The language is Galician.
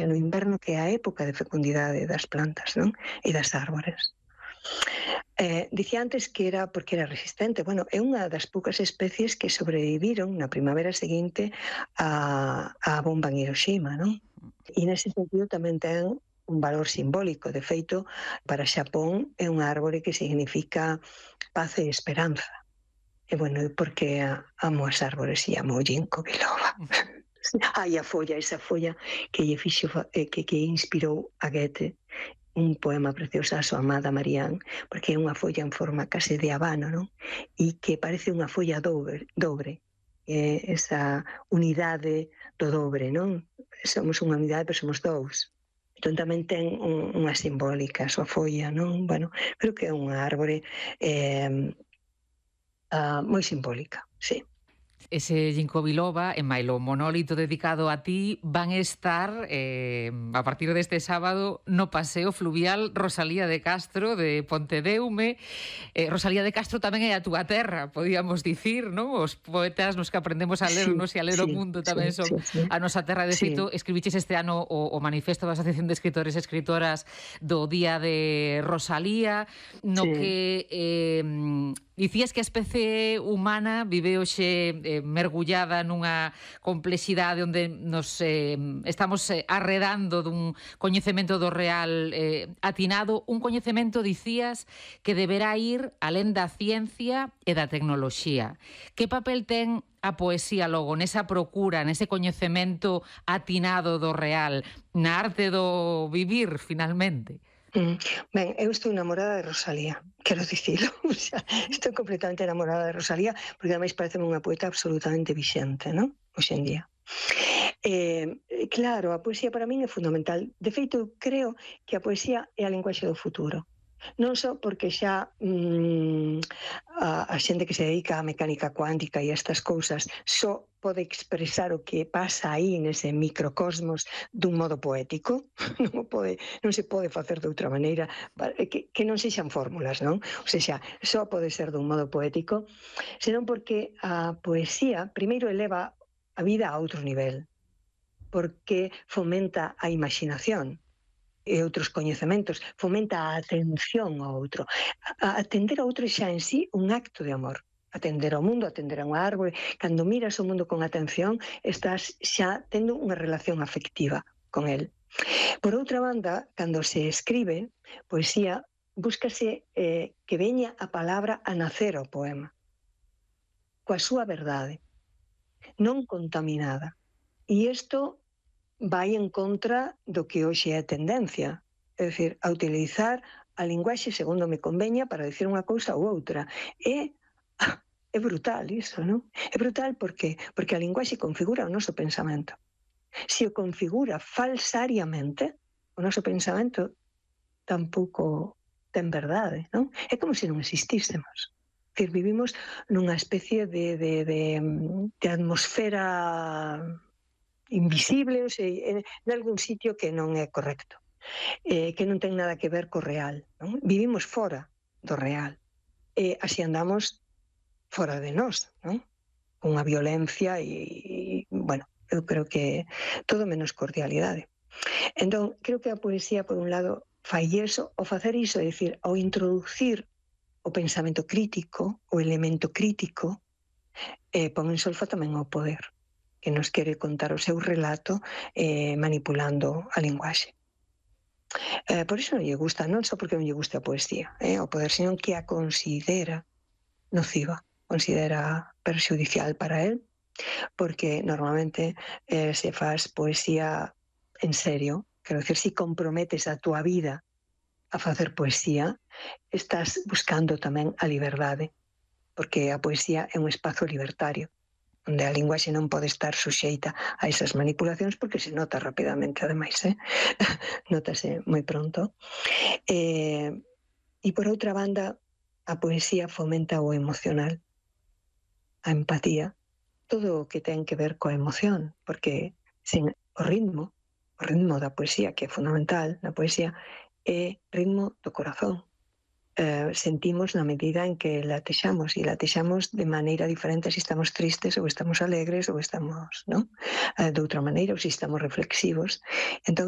no inverno, que é a época de fecundidade das plantas, non? E das árbores. Dicía antes que era porque era resistente. Bueno, é unha das poucas especies que sobreviviron na primavera seguinte á bomba en Hiroshima, non? E nese sentido tamén ten un valor simbólico. De feito, para Xapón é unha árbore que significa paz e esperanza. E bueno, porque amo as árbores e amo o ginkgo biloba. Ai, esa folla que lle fixo, que inspirou a Goethe un poema precioso a súa amada Marianne, porque é unha folla en forma case de habano, non? E que parece unha folla dobre. Esa unidade do dobre, non? Somos unha unidade, pero somos dous. Entón tamén ten unha simbólica a súa folla, non? Bueno, creo que é unha árbore moi simbólica, sí. Ese ginkgo biloba e mailo monólito dedicado a ti van estar a partir deste sábado no paseo fluvial Rosalía de Castro de Pontedeume. Rosalía de Castro tamén é a túa terra, podíamos dicir, non? Os poetas nos que aprendemos a lernos e a ler o mundo tamén son a nosa terra. De feito, escribiches este ano o manifesto da Asociación de Escritores e Escritoras do Día de Rosalía, no que dicías que a especie humana vive hoxe mergullada nunha complexidade onde nos estamos arredando dun coñecemento do real atinado, un coñecemento, dicías, que deberá ir alén da ciencia e da tecnoloxía. Que papel ten a poesía logo nesa procura, nese coñecemento atinado do real, na arte do vivir, finalmente? Ben, eu estou enamorada de Rosalía, quero dicilo. O sea, estou completamente enamorada de Rosalía, porque ademais parece unha poeta absolutamente vixente, non? Hoxe en día. Claro, a poesía para min é fundamental. De feito, creo que a poesía é a linguaxe do futuro. Non só porque xa a xente que se dedica á mecánica cuántica e estas cousas só pode expresar o que pasa aí nese microcosmos dun modo poético, non se pode facer de outra maneira, que non sexan fórmulas, non? O sea, só pode ser dun modo poético, senón porque a poesía primeiro eleva a vida a outro nivel, porque fomenta a imaginación e outros coñecementos, fomenta a atención ao outro. Atender ao outro xa en sí un acto de amor. Atender ao mundo, atender a unha árbore. Cando miras o mundo con atención, estás xa tendo unha relación afectiva con el. Por outra banda, cando se escribe poesía, búscase que veña a palabra a nacer ao poema, coa súa verdade, non contaminada. E isto vai en contra do que hoxe é a tendencia, é dicir, a utilizar a linguaxe segundo me conveña para dicir unha cousa ou outra. É brutal iso, non? É brutal porque a linguaxe configura o noso pensamento. Se o configura falsariamente, o noso pensamento tampouco ten verdade, non? É como se non existísemos. É dicir, vivimos nunha especie de atmosfera invisible, ou sei, en algún sitio que non é correcto, que non ten nada que ver co real, non? Vivimos fora do real, e así andamos fora de nós, non? Con a violencia e, bueno, eu creo que todo menos cordialidade. Entón, creo que a poesía, por un lado, fai iso, ao facer iso, é dicir, ao introducir o pensamento crítico, o elemento crítico, pon en solfa tamén o poder, que nos quere contar o seu relato manipulando a linguaxe. Por iso non lle gusta, non só porque non lle gusta a poesía, o poder, senón que a considera nociva, considera perxudicial para él, porque normalmente se faz poesía en serio, quero dicir, se comprometes a túa vida a facer poesía, estás buscando tamén a liberdade, porque a poesía é un espazo libertario, onde a linguaxe non pode estar suxeita a esas manipulacións, porque se nota rapidamente, ademais, notase moi pronto. E por outra banda, a poesía fomenta o emocional, a empatía, todo o que ten que ver coa emoción, porque sen o ritmo da poesía, que é fundamental, na poesía, é ritmo do corazón. Sentimos na medida en que latexamos, e latexamos de maneira diferente se estamos tristes ou estamos alegres ou estamos, non? De outra maneira, ou se estamos reflexivos. Entón,